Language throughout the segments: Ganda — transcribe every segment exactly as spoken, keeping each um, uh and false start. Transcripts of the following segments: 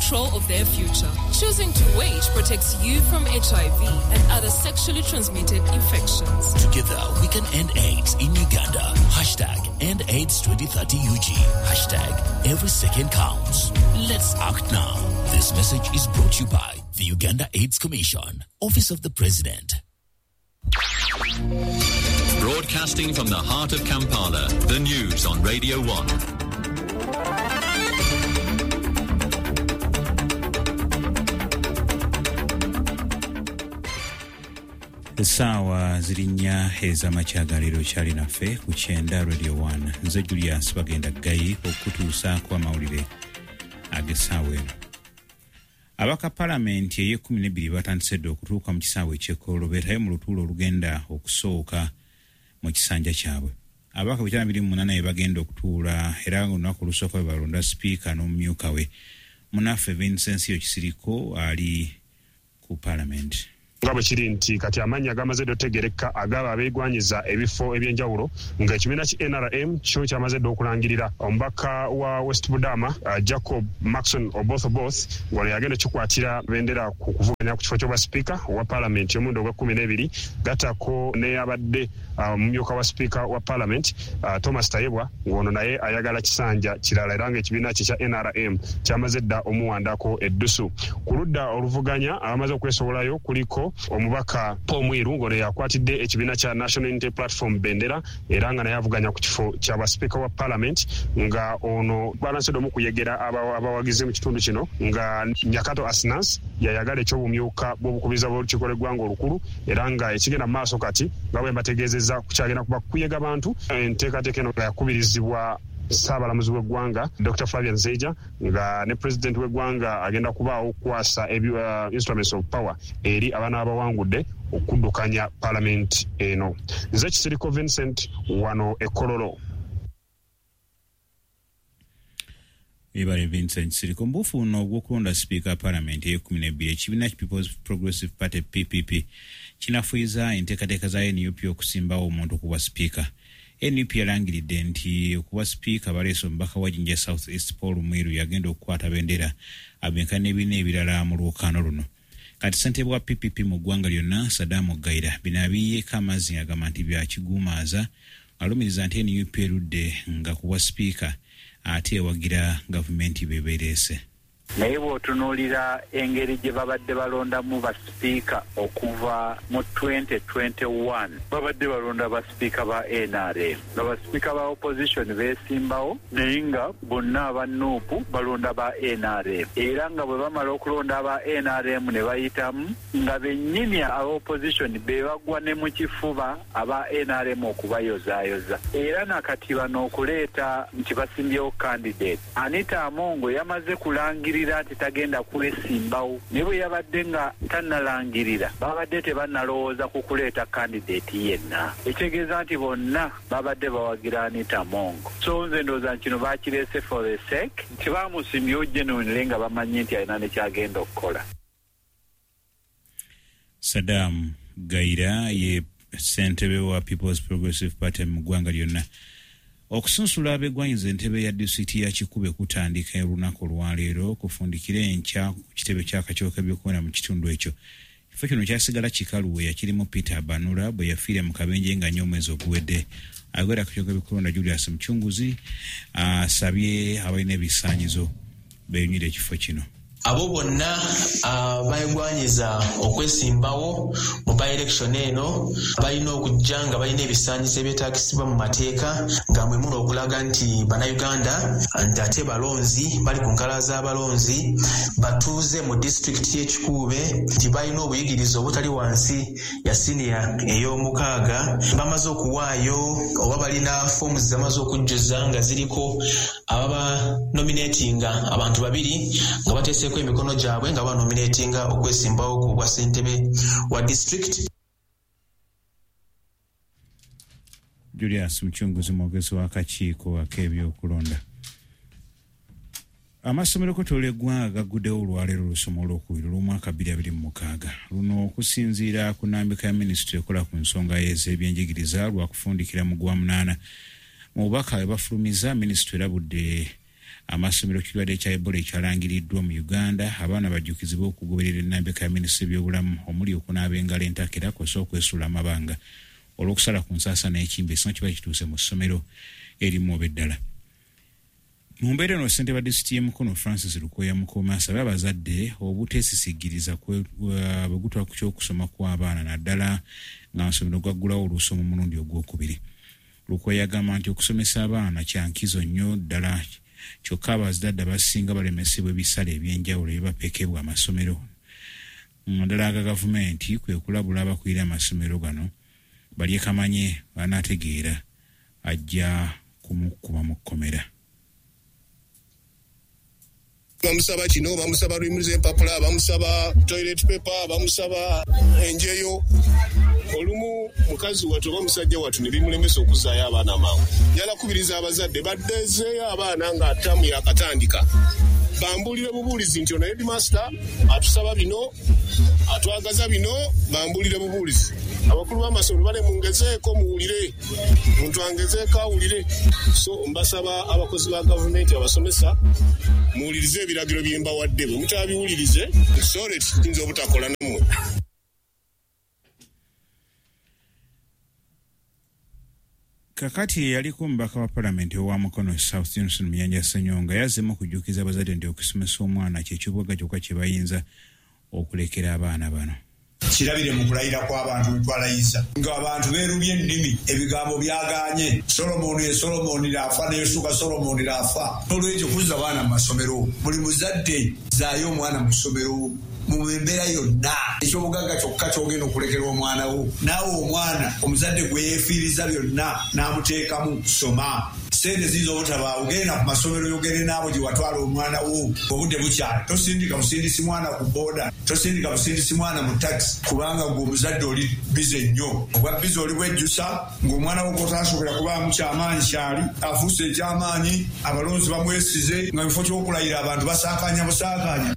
control of their future. Choosing to wait protects you from H I V and other sexually transmitted infections. Together, we can end AIDS in Uganda. Hashtag End AIDS twenty thirty U G. Hashtag Every Second Counts. Let's act now. This message is brought to you by the Uganda AIDS Commission, Office of the President. Broadcasting from the heart of Kampala, the news on Radio one. Essaawa ziri nnya ez'amakya ga leero kyali naffe ku kyenda Radio one. Nze Julius Bagenda Ggayi okutuusaako amawulire ag'essaawa eno. Abaka palamenti ey'ekkumi n'ebbiri batandise dda okutuuka mu kisaawe eky'e beetayo mu lutuulo olugenda okusooka mu kisanja kyabwe. Abaka bitaano abiri mu munaana be bagenda okutuula era olunaku olusooka bwe balonda sipiika n'omumyuka we. Munnaffe Vincent Kisiriko ali ku palamenti. Nga bwe kiri nti kati amannya gamaze dda otegereka agaba abeegwanyiza ebifo ebyenjawulo nga ekibiina ki N R M kyo kyamaze dda okulangirira omubaka wa West Budama uh, Jacob Maxon Oboth Oboth ng'ono yagenda kikwatira bendera ku kuvuganya ku kifo ky'obwa sipiika owa paalamenti omulundi ogw'ekkumi n'ebiri gattako n'eyabadde omumyuka uh, wa sipiika wa paalamenti uh, Thomas Tayebwa ng'ono naye ayagala kisanja kirala era ng'ekibiina kye kya N R M kyamaze dda omuwandako eddusu. Ku ludda oluvuganya abamaze okwesowolayo kuliko omubaka Paul Mwiru ng'ono yakwatidde ekibiina kya National Unity Platform bendera era nga naye avuganya ku kifo kya basipiika wa parliament nga ono balansedde omu kuyegera abawagizi mu kitundu kino nga Nyakato Asnas yayagala eky'obumyuka bw'obukubiriza bw'olukiiko lw'eggwanga olukulu era nga ekigenda mu maaso kati nga bwe mbategeezezza kukyagenda kuba kuyega bantu. Enteekateeka eno nga yakubirizibwa Ssaabalamuzi w'eggwanga Doctor Flavian Zeija nga ne president w'eggwanga agenda kubaawo okukwasa uh, instruments of power eri abaana abawangudde okuddukanya parliament eno. Nze Kisiriko Vincent wano e Kololo. Ebale Vincent Kisiriko. Mbufu ono ogw'okulonda sipiika parliament ey'ekkumi n'ebbiri ekibiina ki People's Progressive Party P P P kinafuyiza enteekateeka za N U P okusimbawo omuntu okuba sipiika. N U P yalangiridde nti okuba sipiika baleese omubaka wa Jinja South East Paul Mwiru yagenda okukwata bendera abenkana n'ebibiina ebirala mu lwokaano luno. Kati ssentebe wa P P P mu ggwanga lyonna Saddam Gaira bino abiyiyeeko amazzi agamba nti bya kiguumaaza, alumiriza nti N U P erudde nga kuwa sipiika ate ewagira gavumenti bebeereese. Naye bw'otunuulira engeri gye babadde balondamu basipiika okuva mu twenty twenty-one babadde balonda basipiika ba N R M nga basipiika ba opposition beesimbawo naye nga bonna aba N U P balonda ba N R M era nga bwe bamala okulonda aba N R M ne bayitamu nga bennyini aba opposition be bagwa ne mu kifuba aba N R M okubayozaayoza. Era nakati bano okuleeta nti basimbyewo candidate Anita Amongo yamaze kulangira nti tagenda kwesimbawo ne bwe yabadde nga tannalangirira babadde tebannalowooza ku kuleeta candidate yenna, ekitegeeza nti bonna babadde bawagira Anita Amongo. So nze ndowooza nti kino bakireese for the sake nti bamusimbyewo genuinely nga bamanyi nti alina ne kyagenda okukola. Saddam Gaira ye ssentebe wa People's Progressive Party mu ggwanga lyonna. Okusunsula abegwanyiza entebe ya disitulikiti ya Kikube kutandika olunaku olwaleero kufundikira enkya ku kitebe ky'akakiiko k'ebyokulonda mu kitundu ekyo. Ekifo kino kyasigala kikalu we yakirimu Peter Banura bwe yafiira mu kabenje nga nnyo omwezi oguwedde. Ayogera akakiiko k'ebyokulonda Julius Muchunguzi asabye abalina ebisaanyizo beeyunire ekifo kino. Abo bonna abeegwanyiza okwesimbawo mu by-election eno balina okujja nga balina ebisaanyizo ebyetaagisibwa mu mateeka nga mwe muli okulaga nti bannayuganda nti ate balonzi bali ku nkalala z'abalonzi batuuze mu disitulikiti y'e Kikuube nti balina obuyigirize obutali wansi ya siniya ey'omukaaga bamaze okuwaayo oba balina foomu zamaze okujjuza nga ziriko ababa nominatinga abantu babiri nga bateeseeko emikono gyabwe nga banominatinga okwesimbawo ku bwa ssentebe wa district. Julius Muchunguzi mwogezi w'akakiiko ak'ebyokulonda. Amasomero kwetooloola eggwanga gagguddewo olwaleero olusoma olwokubiri olw'omwaka bbiri abiri mu mukaaga. Luno okusinziira ku nnambika ya minisitule ekola ku nsonga ez'ebyenjigiriza lwakufundikira mu gwa munaana. Mu bubaka bwe bafulumiza, minisitule erabudde Amasomero kirwadde kya Ebola ekyalangiriddwa mu Uganda, abaana bajjukizibwa okugoberera ennambika ya minisitule y'ebyobulamu omuli okunaaba engalo entakera kw'ossa okwesuula amabanga olw'okusala ku nsaasa n'ekimbe singa kiba kituuse mu ssomero erimu oba eddala. Mu mbeera eno, ssentebe wa disitulikiti y'e Mukono Francis Lukoya Mukoma asabye abazadde obuteesisigiriza bwe gutwala ku ky'okusoma kw'abaana, naddala ng'amasomero gaggulawo olusoma omulundi ogwokubiri. Lukoya agamba nti okusomesa abaana kya nkizo nnyo ddala, kyokka abazadde abasinga balemesebwa ebisale ebyenjawulo ebibapekebwa amasomero naddala aga gavumenti, kwe kulabula abakulira amasomero gano balye kamanye banaategeera ajja kumukuba mu kkomera. Bamusaba kino, bamusaba luyimiriza empapula, bamusaba toilet paper, bamusaba enjeyo. Olumu mukazi wattu oba musajja wattu ne bimulemesa okuzzaayo abaana mangu. Njagala kukubiriza abazadde baddezeeyo abaana nga ttaamu yakatandika. Bambuulire bubuulizi nti ono headmaster atusaba bino, atwagaza bino, bambuulire bubuulizi. Abakulu b'amasomero bale mungezeeko muwulire, muntu angezeeko awulire. So mbasaba abakozi ba gavumenti abasomesa muwulirize ebiragiro bye mbawadde, bwe mutabiwulirize sorry tuyinza obutakola nammwe. Kakati yaliko omubaka wa palamenti owa Mukono South Johnson Muyanja Ssenyonga yazzeemu okujjukiza abazadde nti okusomesa omwana kye kyobugagga kyokka kye bayinza okulekera abaana bano. Kirabire mu kulayira kw'abantu bwe twalayiza ng'abantu beerumye ennimi, ebigambo byagaanye. Solomoni ye Solomoni laafa, ne Yusuka Solomoni laafa. N'olwekyo kuzza abaana mu masomero, buli muzadde zaayo omwana mu ssomero mu mbeera yonna. Ekyobugagga kyokka ky'ogenda okulekera omwana wo, naawe omwana omuzadde gwe yeefiiriza byonna n'amuteekamu soma. Ssente ziyinza obutabaawo, genda ku masomero yogere n'abo gye watwala omwana wo obudde bukyali. Tosindika busindisi mwana ku booda, tosindika busindisi mwana mu takisi, kubanga gwe omuzadde oli bize nnyo. Obwa bize oli bwejjusa ng'omwana wo gw'otasobola kubaamu kyamaanyi kyali afuuse ekyamaanyi, abalonzi bamwesize nga mu kifo ky'okulayira abantu basaakaanya busaakaanya.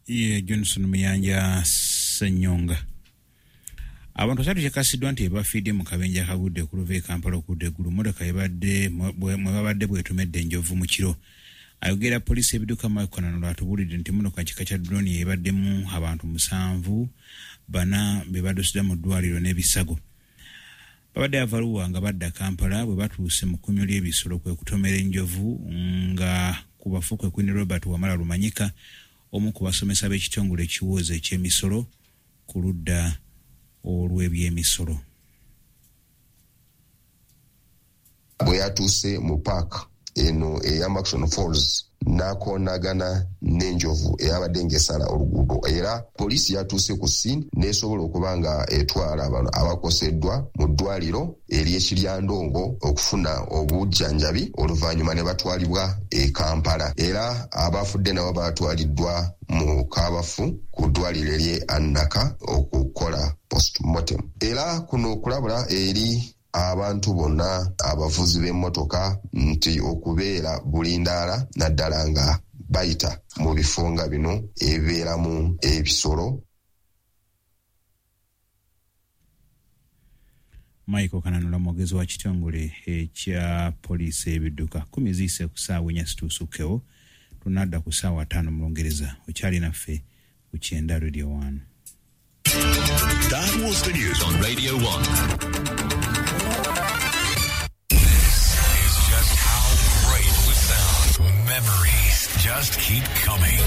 Ye Johnson Muyanja Ssenyonga. Abantu basatu kyekasiddwa nti bafiidde mu kabenje akagudde okuluva e Kampala okudda eggulu mmotoka ebadde mwe babadde bwetomedde enjovu mu kiro. Ayogera poliisi ebidduka Mike Kananura atubuulidde nti mmotoka kika kya drone ebaddemu abantu musanvu, bana be baddusiddwa mu ddwaliro n'ebisago. Babadde Avaluwa nga badda Kampala bwe batuuse mu kkumiro ly'ebisolo kwe kutomera enjovu nga ku bafu kwe Queen Robert Wamala Lumanyika, omu ku basomesa b'ekitongole ekiwooza eky'emisolo ku ludda olw'ebyemisolo. Bwe yatuuse mu paaka eno eya Murchison Falls n'akoonagana n'enjovu eyabadde ng'esala oluguudo, era poliisi yatuuse ku scene n'esobola okuba nga etwala bano abakoseddwa mu ddwaliro ery'Ekiryandongo okufuna obujjanjabi, oluvannyuma ne batwalibwa e Kampala. Era abafudde nabo batwaliddwa mu Kabafu ku ddwaliro ery'e Annaka okukola postmortem. Era kuno okulabula eri abantu bonna abavuzi b'emmotoka nti okubeera bulindaala naddala nga bayita mu bifo nga bino ebibeeramu ebisolo. Michael Kananura mwogezi wa kitongole ekya poliisi ebidduka. Kumi ziyise ku ssaawa ennya situusukkewo, tunadda ku ssaawa ttaano mu Lungereza. Okyali naffe ku Kyenda Radio One. That was the news on Radio one. This is just how great it would sound. Memories just keep coming.